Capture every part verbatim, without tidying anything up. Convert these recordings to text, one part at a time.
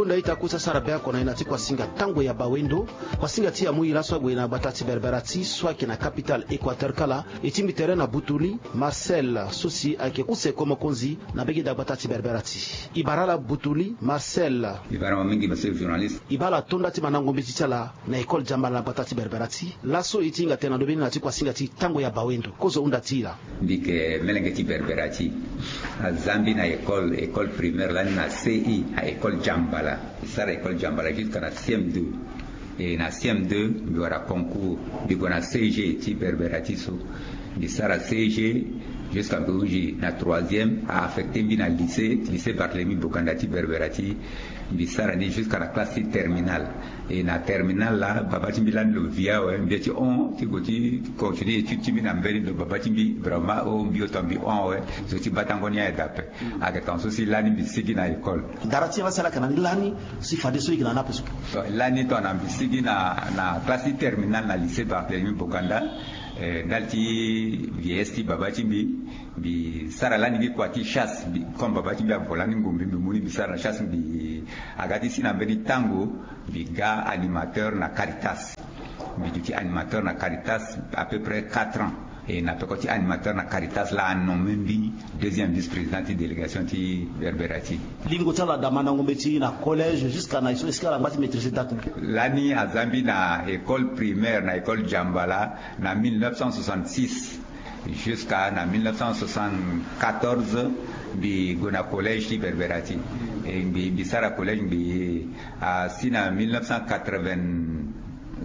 Nda ita kusa sara be oko na e na ti kuasinga tango ya bawendo. Kuasinga ti amu ila so ague na gbata ti Berbera ti so ayeke na capitale Équateur kala. E tingbi tere na Butuli Marcel so si ayeke use ko mokonzi na mbege daa gbata ti Berbera ti. E bara ala Butuli Marcel. E bara mo mingi monsieur journaliste. E bara ala to nda ti mandango mbeti ti ala na école Diambala na gbata ti Berbera ti laso e ti hinga tene na ndö be ni na ti kuasinga ti tango ya bawendo kozo hunda ti e laa. Mbi yeke melenge ti Berbera ti. Aza mbi na école école primaire lani na C I na école Diambala. Mbi sara école Diambala jusqu'à na C M deux. E na C M deux mbi wara concours mbi gue na C G ti Berbera ti so. Mbi sara C G jusqu'à mbi hunzi na troisième a affecté mbi na lycée lycée Barthélemy Boganda ti Berbera ti. Mbi sara ni jusqu'à na classe ti terminale. E na terminale laa baba ti mbi lani lo vit awe mbi ye ti hon ti gue ti continuer étude ti mbi na mbeni lo baba ti mbi vraiment o mbi oto mbi hon awe. Zo ti batango ni aye dape. Ayeke tonga so si lani mbi sigi na école. Dara ti ala si ala yeke na ni lani si fadeso e yeke na ni ape so. Lani tongana mbi sigi na na classe ti terminale na lycée Barthélemy Boganda. Ndali ti vieillesse ti baba ti mbi. Mbi sara lani gi kua ti chasse comme baba ti mbi avo lani ngombe mbi mu ni mbi sara na chasse mbi aga ti si na mbeni tango. Mbi ga animateur na Caritas. Mbi duti animateur na Caritas à peu près quatre ans. E na peko ti animateur na Caritas laa anomme mbi deuxième vice-président ti délégation ti Berbera ti. Lingo ti ala daa mandango mbeti na collège jusqu'à na e so est-ce que ala ngba ti maîtriser date ni? Lani aza mbi na école primaire na école Diambala na mille neuf cent soixante-six. Jusqu'à na mille neuf cent soixante-quatorze mbi gue na collège ti Berbera ti. E mbi mbi sara collège mbi asi na mille neuf cent quatre-vingts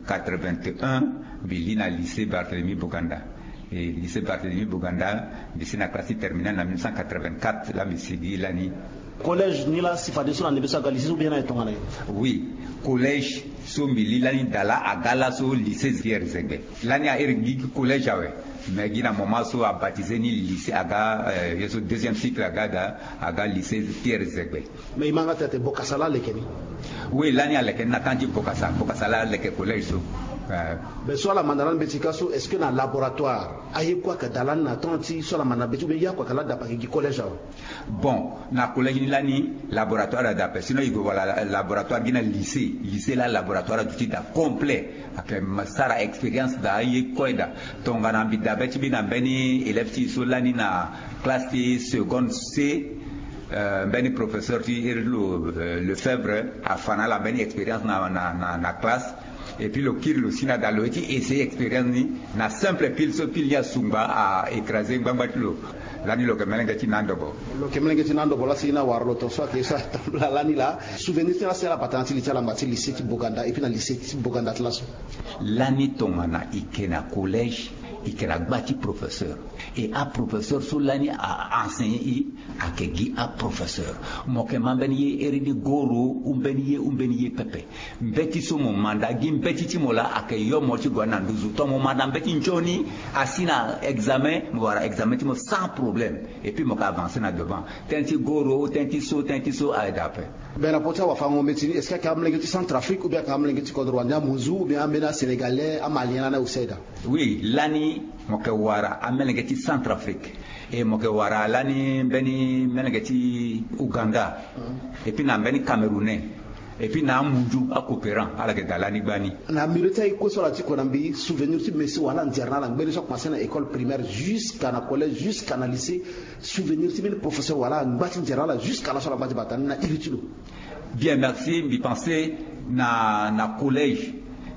quatre-vingt-un mbi li na lycée Barthélemy Boganda. E lycée Barthélemy Boganda mbi si na classe ti terminale na mille neuf cent quatre-vingt-quatre laa mbi sigi lani. Collège ni laa si fadeso na ndembe so aga lycée so bien na e tongana nyen? Oui, collège so mbi li lani daa laa aga laso lycée Pierre Zegbe. Lani a iri gi collège awe. Mais gi na moment so a baptisé ni lycée aga ye so deuxième cycle aga daa aga lycée Pierre Zegbe. Mais e ma nga tene ate bokasa laa aleke ni? Oui lani aleke ni na temps ti bokasa bokasa laa aleke collège so. Mais so ala manda lani mbeti ka so est-ce que na laboratoire aye kue ayeke daa lani na temps ti so ala manda mbeti ou bien ye oko ayeke laa dape ayeke gi collège awe? Bon, na collège ni lani laboratoire adape sinon e gue wala laboratoire gi na lycée lycée laa laboratoire aduti daa complet. Ayeke sara expérience daa aye kue daa. Tongana mbi dabe ti mbi na mbeni élève ti e so lani na classe ti seconde C. Mbeni professeur ti iri ti lo Lefebvre afa na ala mbeni expérience na na na classe. Et puis lo kiri lo si na daa lo ye ti essayer expérience ni na simple pile so pile ni asungba a écraser ngbangba ti lo. Lani lo yeke melenge ti na ndobo. Lo yeke melenge ti na ndobo laa si na wara lo tonga so ayeke ye so atambula lani laa souvenir ti ni laa si ala bata na ti li ti ala ngba ti lycée ti Boganda et puis na lycée ti Boganda ti laso. Lani tongana e yeke na collège e yeke na gba ti professeur. Et aprofesseur so lani a enseigner e ayeke gi aprofesseur. Mo yeke ma mbeni ye iri ni goro ou mbeni ye ou mbeni ye pepe. Mbeti so mo manda gi mbeti ti mo laa ayeke yo mo ti gue na nduzu to mo manda mbeti nzoni asi na examen mo wara examen ti mo sans problème. Et puis mo yeke avancer na devant. Tënë ti goro tënë ti so tënë ti so aye daa ape. Be na poti awafango mbeti ni est-ce que ayeke amolenge ti Centrafrique ou bien ayeke amolenge ti kodro wande amonzu ou bien ambeni asénégalais amalien lani aye aussi aye daa? Oui lani mo yeke wara amolenge ti Centrafrique. Et mo yeke wara lani mbeni melenge ti Ouganda. Et puis na mbeni Camerounais. Et puis na amunzu acoopérant ala yeke daa lani gbani. Na mire ti aye kue so ala ti kue na mbi souvenir ti mesi wala anzere na ala ngbene so akomanse na école primaire jusqu'à na collège jusqu'à na lycée. Souvenir ti mbeni professeur wala angba ti nzere na ala jusqu'à laso ala ngba ti bata ni na iri ti lo. Bien merci mbi pense na na collège.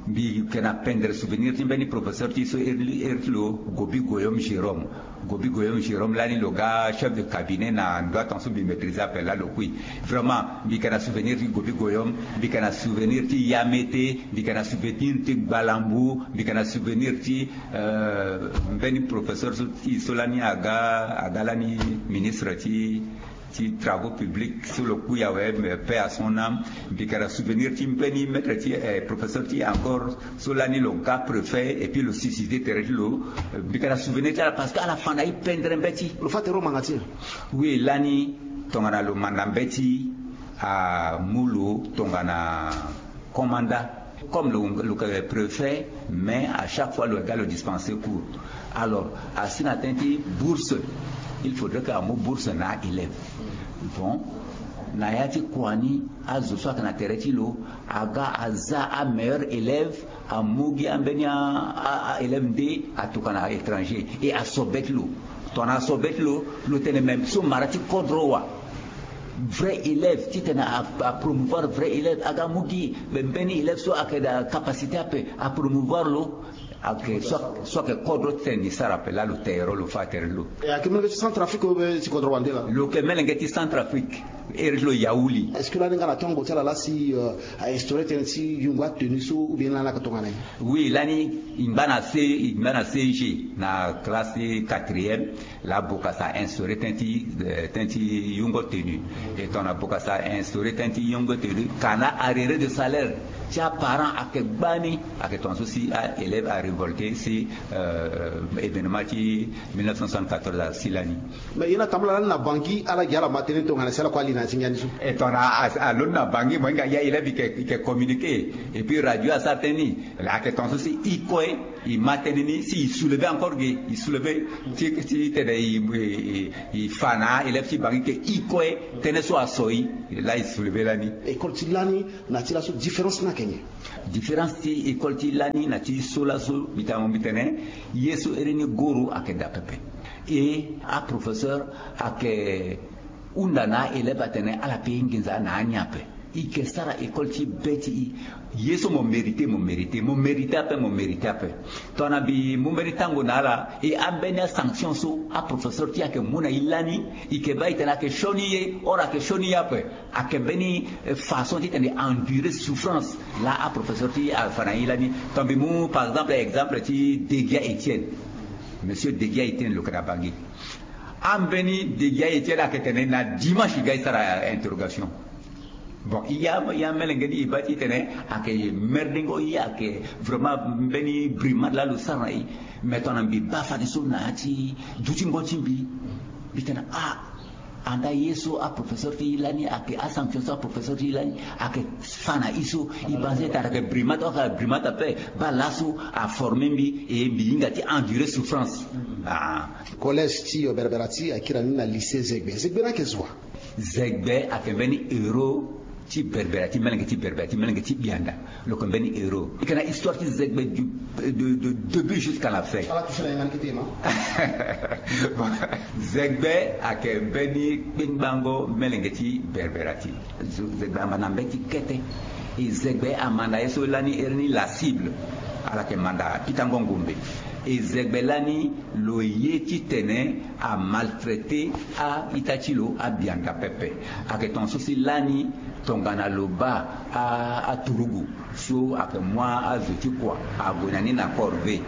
Mbi yeke na pendre souvenir ti mbeni professeur ti so iri ti lo Gobi Goyom Jérôme. Gobi Goyom Jérôme lani lo ga chef de cabinet na ndua tonga so mbi maîtrise ape laa lo kui. Vraiment mbi yeke na souvenir ti Gobi Goyom. Mbi yeke na souvenir ti Yamete. Mbi yeke na souvenir ti Gbalambu. Mbi yeke na souvenir ti mbeni professeur so ti so lani aga aga lani ministre ti ti travaux publics so lo kui awe. Paix à son âme. Mbi yeke na souvenir ti mbeni maître ti professeur ti encore so lani lo ga préfet et puis lo susciter tere ti lo. Mbi yeke na souvenir ti ala parce que ala fa na e pendre mbeti. Lo fa tere lo manga ti e? Oui lani tongana lo manda mbeti amu lo tongana commandant. Comme lo lo yeke préfet mais à chaque fois lo ga lo dispenser cours. Alors asi na tënë ti bourse il faudrait que amu bourse na élève. Bon. Na ya ti kua ni, azo so ayeke na tere ti lo aga aza ameilleur élève, amu gi ambeni a- a- a élève nde atokua na étranger, e asobeti lo. Tongana asobeti lo, lo tene même so mara ti kodro wa. Vrai élève, titene a- apromouvoir vrai élève, aga mu gi mbeni élève so ayeke na capacité ape, apromouvoir lo. Ayeke so ayeke kodro titene ni sara ape. Laa lo tere lo fa tere lo. E ayeke melenge ti Centrafrique ou bien ti kodro wande laa? Lo yeke melenge ti Centrafrique. Ere ti lo Yaouli. Est-ce que lani nga na tongo ti ala laa si a instauré tënë ti yungo atenu so ou bien lani ayeke tongana nyen? Oui, lani i ngba na C, i ngba na C G na classe ti quatrième. Laa Bokassa a instauré tënë ti tënë ti yungo tenue. E tongana Bokassa a instauré tënë ti yungo tenue, kana arriéré de salaire ti aparent ayeke gbani. Ayeke tongana so si a élève a révolté si événement ti mille neuf cent soixante-quatorze asi lani. Mais ye na tambula lani na Bangui ala gi ala ma tënë tongana si ala kue ali na ya ti ngia ni so. E tongana alondo na Bangui mo hinga ya élève i yeke communiqué. Et puis radio asara tënë ni. Ayeke tongana so si i kue i ma tënë ni si i soulever encore ge, i soulever ti tene i fa na élève ti Bangui ke i kue tënë so aso i. Laa i soulever lani. École ti lani na ti laso différence ni ayeke nyen? Différence ti école ti lani na ti so laso mbi tene mo mbi tene ye so ere ni goro ayeke daa pepe. E aprofesseur ayeke hunda na élève atene ala pe nginza na ani ape. I yeke sara école ti be ti i. Ye so mo mérité mo mérité, mo mérité ape mo mérité ape. Tongana mbi mu mbeni tango na ala e ambeni asanction so aprofesseur ti e ayeke mu na i lani, i yeke baa i tene ayeke sioni ye or ayeke sioni ye ape. Ayeke mbeni façon titene e endurer souffrance laa aprofesseur ti e afa na i lani. Tongana mbi mu par exemple exemple ti Degia Etienne. Monsieur Degia Etienne lo yeke na Bangui. Ambeni Degia Etienne ayeke tene na dimanche i ga i sara interrogation. Bon, i ya i amelenge ni i baa ti tene ayeke merdengo i ayeke vraiment mbeni brimade laa lo sara na i. Mais tongana mbi baa fadeso na ya ti dutingo ti mbi, mbi tene ah, anda ye so aprofesseur ti i lani ayeke asanction so aprofesseur ti i lani ayeke fa na i so. I banze tara ayeke brimade or ayeke brimade ape. Baa laso aforme mbi e mbi hinga ti endurer souffrance. Ah. Collège ti Berbera ti akira ni na lycée Zegbe. Zegbe ni ayeke zo wa? Zegbe ayeke mbeni héros ti Berbera ti melenge ti Berbera ti melenge ti Bianda. Lo yeke mbeni héros. I yeke na histoire ti Zegbe du de début jusqu'à la fin. Ala touché na ye nga ni kete e ma. Zegbe ayeke mbeni kpengbango melenge ti Berbera ti. Zegbe ama na mbeti kete. E Zegbe ama na ye so lani ere ni la cible. Ala yeke manda pikango ngombe. E Zegbe lani lo ye titene amaltraité a-ita ti lo abianda pepe. Ayeke tongaso si lani tongana lo baa aturugu so ayeke mu azo ti kua ague na ni na corvée.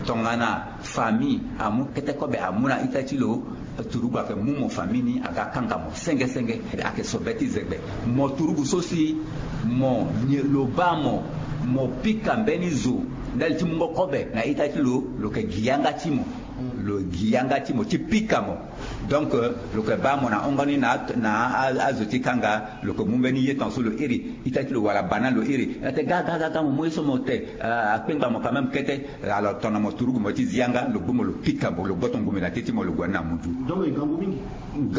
Tongana famille amu kete kobe amu na ita ti lo, turugu ayeke mu mo famille ni aga kanga mo senge senge. Ayeke sobe ti Zegbe. Mo turugu so si mo nyen lo baa mo, mo pika mbeni zo ndali ti mungo kobe na ita ti lo, lo yeke gi yanga ti mo. Lo gi yanga ti mo ti pika mo. Donc lo yeke baa mo na hongo ni na azo ti kanga. Lo yeke mu mbeni ye tongaso lo iri ita ti lo wala bana lo iri na te ga ga ga ga mo mu ye so mo te. Akpengba mo quand même kete. Alors tongana mo turugu mo ti zi yanga lo gbu mo lo pika mo lo gboto ngumbe na te ti mo lo gue ni na mutu. Donc e ngangu mingi.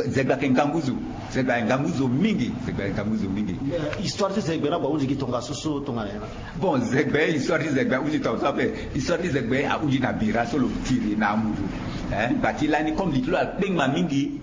Zegbe ayeke ngangu zo. Zegbe ayeke ngangu zo mingi. Zegbe ayeke ngangu zo mingi. Histoire ti Zegbe ni ague ahunzi gi tongaso so tongana nyen? Bon, Zegbe histoire ti Zegbe ahunzi tongaso ape. Histoire ti Zegbe ahunzi na bira so lo tiri na amundu. Gba ti lani comme li ti lo akpengba mingi.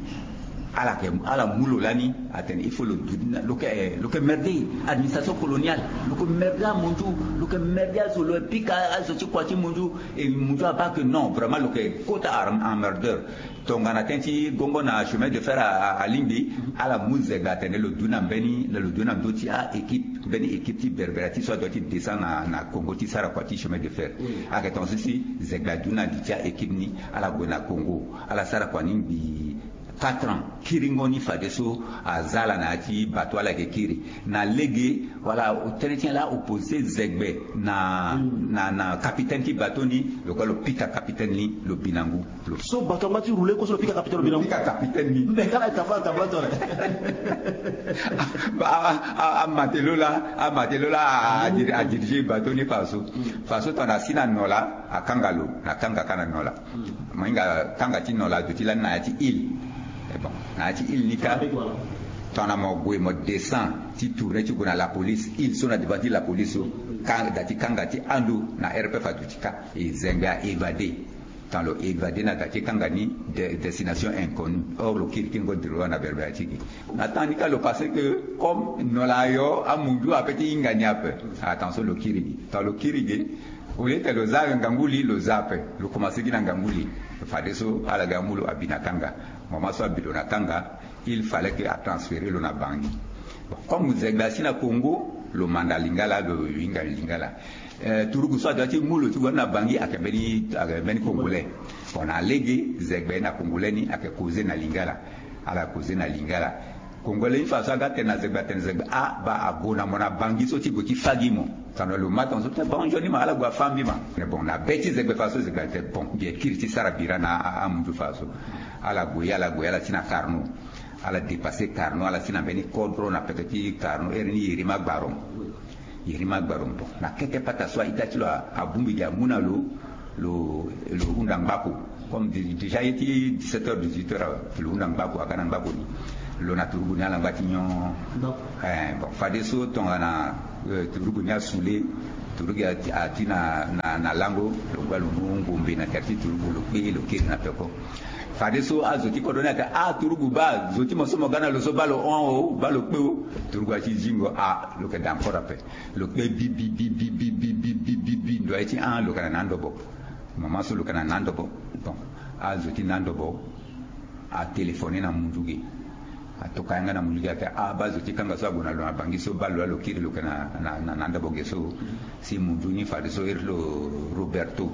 Ala yeke ala mu lo lani atene il faut lo du lo yeke lo yeke merde administration coloniale. Lo yeke merde amundu. Lo yeke merde azo lo yeke pika azo ti kua ti mundu. E mundu abaa ke non vraiment lo yeke kota emmerdeur. Tongana tënë ti gongo na chemin de fer alingbi. Ala mu Zegbe atene lo du na mbeni lo du na ndö ti a-équipe mbeni équipe ti Berbera ti so adoit ti descend na Congo ti sara kua ti chemin de fer. Ayeke tongaso si Zegbe adu na li ti a-équipe ni. Ala gue na Congo ala sara kua ni ngbii quatre ans. Kiringo ni fadeso aza ala na ya ti bateau ala yeke kiri na lege. Wala tënë ti nyen laa opposé Zegbe na na na capitaine ti bateau ni. Lo kue lo pika capitaine ni lo bi na ngu. So bateau angba ti roulé kue so lo pika capitaine lo bi na ngu. Pika capitaine ni. Mbe kala e tambula tambula tore. Amatelot laa amatelot laa adirige bateau ni faso. Faso tongana asi na no laa akanga lo na kanga kâ na no laa. Mo hinga kanga ti no laa aduti lani na ya ti île. Bon, na ya ti île ni kâ. Tongana mo gue mo descend ti tourner ti gue na la police, il so na devant ti la police so, ka da ti kanga ti ando na R P F aduti kâ. E zengbe a évadé. Tongana lo évadé na da ti kanga ni, destination inconnue, or lo kiri kingo droit na berbera ti gi. Na temps ni kâ lo pensé que comme no la yo amundu ape ti hinga ni ape, attention, lo kiri gi. Tongana lo kiri gi, au lieu ti lo za ngangu li, lo za ape, lo commencé gi na ngangu li. Fadeso ala ga amu lo abi na kanga. Moment so abi lo na kanga, il fallait que a transférer lo na Bangui. Bon, comme Zegbe asi na Congo, lo manda Lingala, lo hinga Lingala. Turugu so adoit ti mu lo ti gue na Bangui ayeke mbeni ayeke mbeni Congolais. Bon, na lege Zegbe na Congolais ni ayeke causer na Lingala. Ala causer na Lingala. Congolais ni fa so aga tene na Zegbe atene Zegbe, ah, baa, ague na mo na Bangui so ti gue ti fa gi mo. Tongana lo ma tongaso ti bon, nzoni ma ala gue afa mbi ma. Mais bon, na be ti Zegbe fa so Zegbe atene bon, mbi ye kiri ti sara bira na amundu fa so. Ala gue, ala gue, ala si na Carnot. Ala dépasser Carnot, ala si na mbeni kodro na peke ti Carnot, ere ni Yerima Gbarom. Yerima Gbarom, bon, na kete pata so a-ita ti lo abongbi gi amu na lo, lo hunda ngbako. Comme déjà ye ti dix-sept heures, dix-huit heures awe, lo hunda ngbako, aga na ngbako ni. Lo na turugu ni ala ngba ti nyon. Eh, bon, fadeso tongana turugu ni asule, turugu ati na lango, lo ngba lo mu ngombe na tere ti turugu, lo kpe, lo kiri na peko. Fadeso azo ti kodro ni atene, ah, turugu, baa, zo ti mo so mo ga na lo so, baa lo hon o, baa lo kpe o. Turugu ati zingo, ah, lo yeke da encore ape. Lo kpe bi bi bi bi bi bi bi bi bi bi ndo aye ti, ah, lo yeke na na ndobo. Moment so lo yeke na na ndobo, bon, azo ti na ndobo atéléphoné na mundu ge. Atoka yanga na mundu ge atene, ah, baa, zo ti kanga so ague na lo na Bangui so, baa, lo laa lo kiri lo yeke na na ndobo ge so. Si mundu ni fadeso iri ti lo Roberto.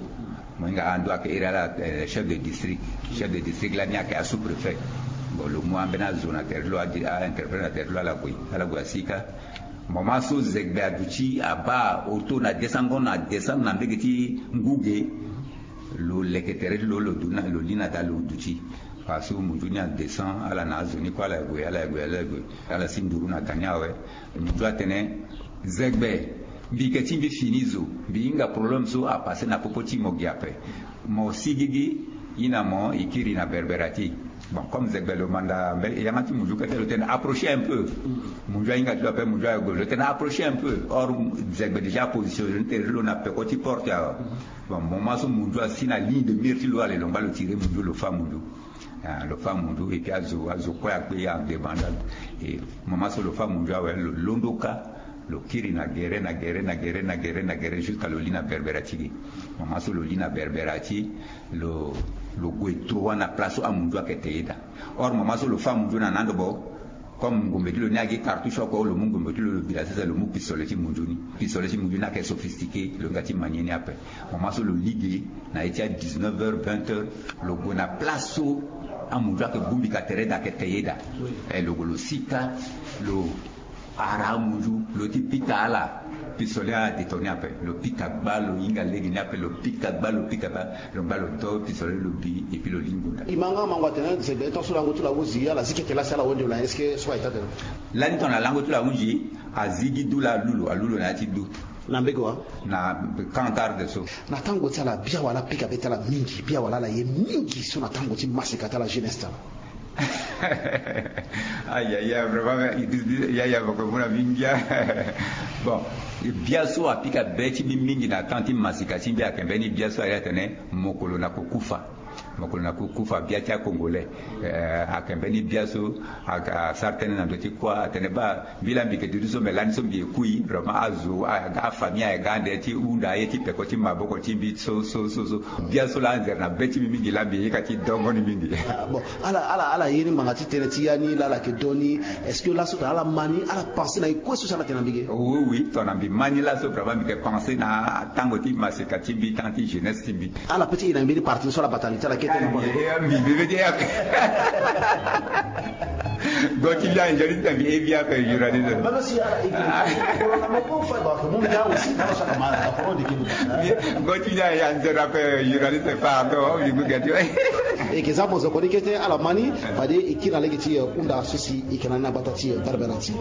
Mo hinga ando ayeke iri ala chef de district. Chef de district lani ayeke asous-préfet. Bon, lo mu ambeni azo na tere ti lo, a-interprète na tere ti lo, ala gue, ala gue asi kâ. Moment so Zegbe aduti abaa auto na desango na descendre na mbege ti ngu ge. Lo leke tere ti lo, lo du na, lo li na da, lo duti. Parce que mundu ni adescend, ala na azo ni kue, ala gue, ala gue, ala gue. Ala si nduru na da ni awe. Mundu atene, Zegbe, mbi yeke ti mbi fini zo, mbi hinga problème so apasé na popo ti mo gi ape. Mo si gigi, i na mo i kiri na berbera ti. Bon, comme Zegbe lo manda mbeni yanga ti mundu kete, lo tene approcher un peu. Mundu ahinga ti lo ape, mundu ague, lo tene approcher un peu. Or Zegbe déjà apositionné tere ti lo na peko ti porte awe. Bon, moment so mundu asi na ligne de mire ti lo, ale lo ngba lo tirer mundu, lo fâ mundu. Ah, lo fâ mundu, et puis azo, azo kue akpe en débandade. Et moment so lo fâ mundu awe, lo londo kâ, lo kiri na gere, na gere, na gere, na gere, na gere, jusqu'à lo li na berbera ti gi. Moment so lo li na berbera ti, lo, lo gue droit na place so amundu ayeke te ye daa. Or moment so lo fâ mundu na na ndobo, comme ngombe ti lo ni agi cartouche oko, lo mu ngombe ti lo, lo bira sese, lo mu pistolet ti mundu ni. Pistolet ti mundu ni ayeke sophistiqué, lo hinga ti manier ni ape. Moment so lo li ge, na ye ti a dix-neuf heures, vingt heures, lo gue na place so amundu ayeke bongbi ka tere daa, ayeke te ye daa. Eh, lo gue lo si kâ, lo ara amundu, lo ti pika ala. Pistolet adétonné ape, lo pika gba, lo hinga lege ni ape, lo pika gba, lo pika gba, lo ngba lo to pistolet, lo bi, et puis lo li ngonda. E ma nga mango atene Zegbe, tant so lango ti lo ahunzi, ala zi keke laa si ala hon nde lo na, est-ce que so aye taa tene? Lani tongana lango ti lo ahunzi, azi gi du laa, alu lo, alu lo na ya ti du. Na mbege wa? Na Camp Garde so. Na tango ti ala, bia wala apika be ti ala mingi, bia wala ala ye mingi so na tango ti masika ti ala jeunesse ti ala? Aïe, aïe, aïe, vraiment, Idriss, ya, ya, boko mu na mbi ngia. Bon, bia so apika be ti mbi mingi na temps ti masika ti mbi ayeke mbeni bia so aye atene Mokolo na Kokufa. Mokolo na Kokufa, bia ti a-Congolais. Eh, ayeke mbeni bia so, a, asara tënë na ndö ti kuâ, atene baa, mbi laa mbi yeke duti so, me lani so mbi ye kui, vraiment azo, a, afamille aye ga ande ti hunda aye ti peko ti maboko ti mbi so, so, so, so. Bia so laa anzere na be ti mbi mingi laa mbi ye yeka ti dongo ni mingi. Ah, bon, ala, ala, ala ye ni ngbanga ti tënë ti ya ni laa ala yeke do ni. Est-ce que laso tongana ala ma ni, ala pensé na ye kue so si ala yeke na mbi ge? Oui, oui, tongana mbi ma ni laso, vraiment mbi yeke pensé na tango ti masika ti mbi, temps ti jeunesse ti mbi. Ala peut ti e na mbeni parti so ala bata li ti ala kete na mbi. Go ti bia nzoni ti mbi e bia ape journaliste. Même si ala e. Go ti bia ya nzoni ape journaliste, pardon, mbi gue gati. E yeke za mo zo koni kete ala ma ni, fade e kiri na lege ti, eh, hunda so si e yeke na ni na gbata ti, eh, berbera ti.